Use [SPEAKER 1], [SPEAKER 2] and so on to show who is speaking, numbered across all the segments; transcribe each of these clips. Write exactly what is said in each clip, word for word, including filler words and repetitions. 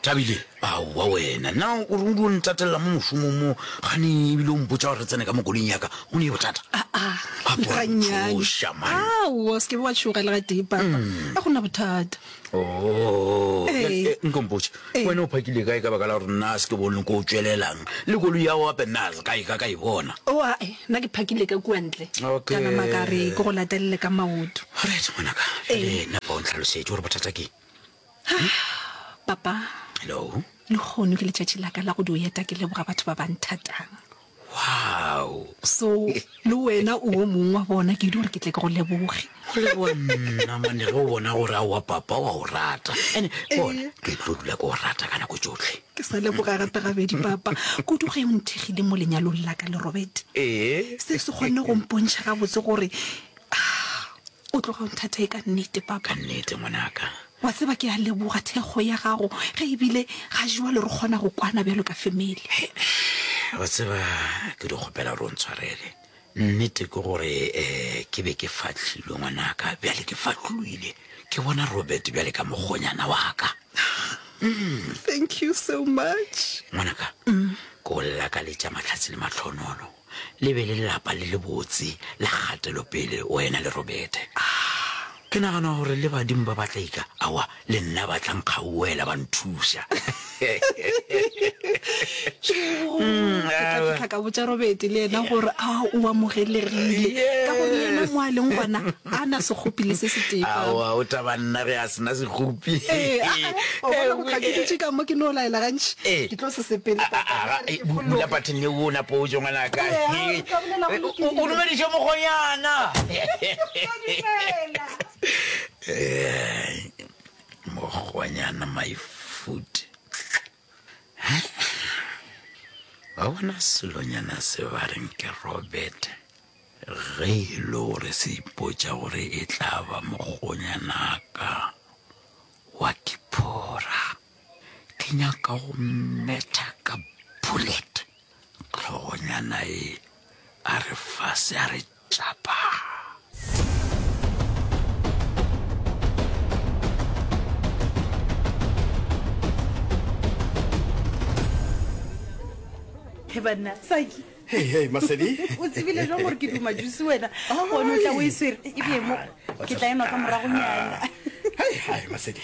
[SPEAKER 1] Thabile, aowa wena, na o re o dio ntatelela mo mošomong mo, gane ebile o mpotša gore re tsene ka mo koloing ya ka, go ne bothata?
[SPEAKER 2] Aa,
[SPEAKER 1] Gape wa
[SPEAKER 2] gannyane.
[SPEAKER 1] ntšhoša, man.
[SPEAKER 2] Aowa, o se ke be wa tšhoga le gatee, papa. Ga go na bothata.
[SPEAKER 1] Oh,
[SPEAKER 2] Ee.
[SPEAKER 1] eh, nko mpotše,
[SPEAKER 2] Ee.
[SPEAKER 1] wena o phakile kae ka baka la gore nna a se ke bone ko o tšwelelang le koloi ya gago gape nna a se ka e ka ka e bona.
[SPEAKER 2] O ae, nna ke phakile ka kua ntle.
[SPEAKER 1] Okay.
[SPEAKER 2] Ka nama ka re ke go latelele ka maoto.
[SPEAKER 1] Alright, ngwanaka,
[SPEAKER 2] Ee.
[SPEAKER 1] bjale napa o ntlhalosetše gore bothata ke eng.
[SPEAKER 2] Papa,
[SPEAKER 1] Hello.
[SPEAKER 2] lehono ke letšatši la ka la go dio eta ke leboga batho ba ba nthatang.
[SPEAKER 1] Wow.
[SPEAKER 2] So, le wena o o mongwe wa bona, ke ile gore ke tle ke go leboge.
[SPEAKER 1] Go leboga nna mane ge o bona gore aowa papa wa o rata. Ene bona ke tlo dula ke o rata ka nako tšohle.
[SPEAKER 2] Ke sa leboga gape gabedi papa, kudu ge o nthekgile mo lenyalong la ka le Robert.
[SPEAKER 1] Ee.
[SPEAKER 2] Se se kgonne go mpontšha gabotse gore ah, o tloga o nthata e ka nnete papa.
[SPEAKER 1] Ka nnete ngwanaka.
[SPEAKER 2] Wa tseba ke a leboga thekgo ya gago ge ebile ga jwale re kgona go kwana bjalo ka family.
[SPEAKER 1] Wa tseba ke di kgopela gore o ntshwarele. Nnete ke gore um ke be ke fahlilwe ngwanaka, bjale ke fahlolwile. Ke bona Robert bjale ka mokgonyana wa ka.
[SPEAKER 2] Thank you so much.
[SPEAKER 1] Ngwanaka, ke o lakaletša mahlatse le mahlonolo. Le be le lelapa le lebotse la kgatelopele wena le Robert. Ke nagana gore le badimo ba ba tla ika, aowa, le nna ba tla nkgauela ba nthuša.
[SPEAKER 2] Ke tla fihla ka botša Robert le yena gore a o amogelegile, ka gore le yena mo a leng gona a na sekgopi le se setee. Papa.
[SPEAKER 1] Aowa, o taba nna ge a se na sekgopi.
[SPEAKER 2] Ee, a, a, o bona go tla ke dutše ka mo ke no laela gantši.
[SPEAKER 1] Ee.
[SPEAKER 2] Ke tlo se sepele,
[SPEAKER 1] A, a,
[SPEAKER 2] papa.
[SPEAKER 1] a,
[SPEAKER 2] Re ke
[SPEAKER 1] bula
[SPEAKER 2] fologe.
[SPEAKER 1] pattern ye o napo o tšwe ngwanaka.
[SPEAKER 2] Ee, a, o tla bolela go
[SPEAKER 1] O, o
[SPEAKER 2] lokile.
[SPEAKER 1] dumediše mokgonyana.
[SPEAKER 2] Dumela.
[SPEAKER 1] Eh, mokgonyana my foot. Ba bona selonyana se ba reng ke Robert, ge e le gore se ipotša gore e tla ba mokgonyanaka wa Kiphora, ke nyaka go mmetha ka bullet. Hlogonyana e a re fase a re tšapa.
[SPEAKER 3] He banna, Saki.
[SPEAKER 4] Hey, hey, Masedi.
[SPEAKER 3] O tsebile jwang gore ke duma juice wena? Gone o tla o e swere. E bee mo. Ke tla enwa ka moragonyana.
[SPEAKER 4] Hai, hai, Masedi.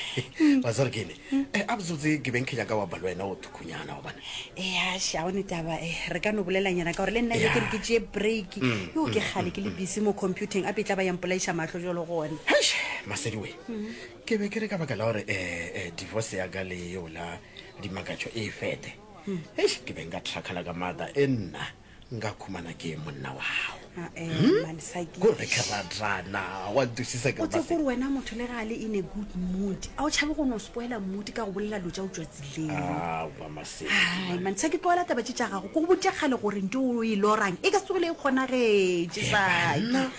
[SPEAKER 4] Wa tseba gore ke eng? Eh, a botsebotse ke beng ke nyaka wa ba le wena o thukhunyana gobane.
[SPEAKER 3] Ea, sha, o ne taba. Eh, re ka no bolelanyana ka gore le nna
[SPEAKER 4] Ya.
[SPEAKER 3] ke re ke tšee break. Yo ke kgale ke le busy mo computeng, ape e tla ba ya mpolaiša mahlo jwalo gona.
[SPEAKER 4] Heish, Masedi we. Ke be ke re ka baka la gore eh, eh, divorce ya ka le yeo la Dimakatšo e fete. Eish, ke be nka thakgala ka maatla e nna nka khumana ke monna wa gago.
[SPEAKER 3] Ae, man, Saki.
[SPEAKER 4] Ko re ke ratana, wa ntwisisa ke
[SPEAKER 3] O
[SPEAKER 4] re
[SPEAKER 3] tsebe
[SPEAKER 4] Masedi.
[SPEAKER 3] gore wena motho le ge a le in a good mood, a o tšhabe go no spoila mood ka go bolela dilo tša go tšwa tseleng.
[SPEAKER 4] Aowa, Masedi,
[SPEAKER 3] Hai,
[SPEAKER 4] man.
[SPEAKER 3] man, Saki, tlogela taba tše tša gago. Ke go boditše kgale gore nto o e lorang e ka se tsogile e kgonagetše,
[SPEAKER 4] He,
[SPEAKER 3] Saki.
[SPEAKER 4] banna.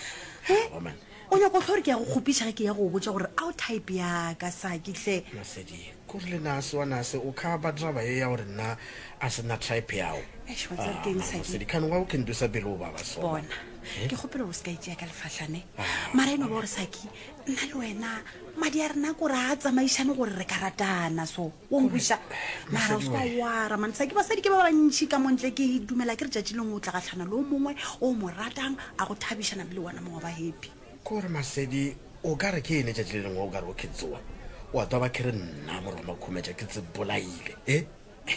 [SPEAKER 3] He?
[SPEAKER 4] Aowa, man.
[SPEAKER 3] O nyaka go hlwa gore ke ya go kgopiša ge ke ya go go botša gore a o type ya ka, Saki, hle.
[SPEAKER 4] Masedi, Kore le nase wa nase o kha ba taba ye ya gore nna a se na type yao.
[SPEAKER 3] Eish, wa tseba
[SPEAKER 4] Ah,
[SPEAKER 3] ke eng,
[SPEAKER 4] mara
[SPEAKER 3] Saki?
[SPEAKER 4] Masedi, khane wa o ke ntosa pele o baba so.
[SPEAKER 3] Bona,
[SPEAKER 4] Eh?
[SPEAKER 3] ke kgopela gore o se ka itšea ka lefahlane.
[SPEAKER 4] Ah,
[SPEAKER 3] Mara e no ba gore, Saki, nna le wena madi a rena kore a tsamaišane gore re ka ratana so. O nkweša? Mara o
[SPEAKER 4] Masedi
[SPEAKER 3] se ka
[SPEAKER 4] we.
[SPEAKER 3] wara, man. Saki, basadi ke ba bantši ka mo ntle, ke dumela ke re tšatši lengwe o tla gahlana le o mongwe o mo ratang, a go thabiša namile wena mongwe wa ba happy.
[SPEAKER 4] Kore Masedi, o ka re ke ene tšatši le lengwe o ka re o ke tsoa, wa twa ba ke re nna morwa Makhumetša ke tse bolaile, e?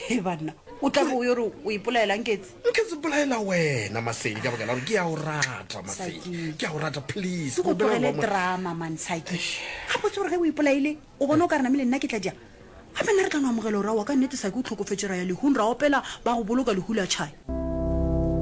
[SPEAKER 3] He banna, o tla be o yo re o ipolaela Nketse?
[SPEAKER 4] Nke tse bolaela wena Masedi ka baka la gore ke a o rata Masedi,
[SPEAKER 3] Saki.
[SPEAKER 4] ke a o rata please.
[SPEAKER 3] Ke go
[SPEAKER 4] Ke kgopela
[SPEAKER 3] tlogele
[SPEAKER 4] gore wa mo-
[SPEAKER 3] drama man Saki.
[SPEAKER 4] Eish.
[SPEAKER 3] Gabotse gore ge o ipolaile o bona o ka re namile nna ke tla dia? Gape nna re tla no amogela gore aowa ka nnete Saki o hlokofetše ra ya lehung ra opela ba go boloka lehu la tšhai.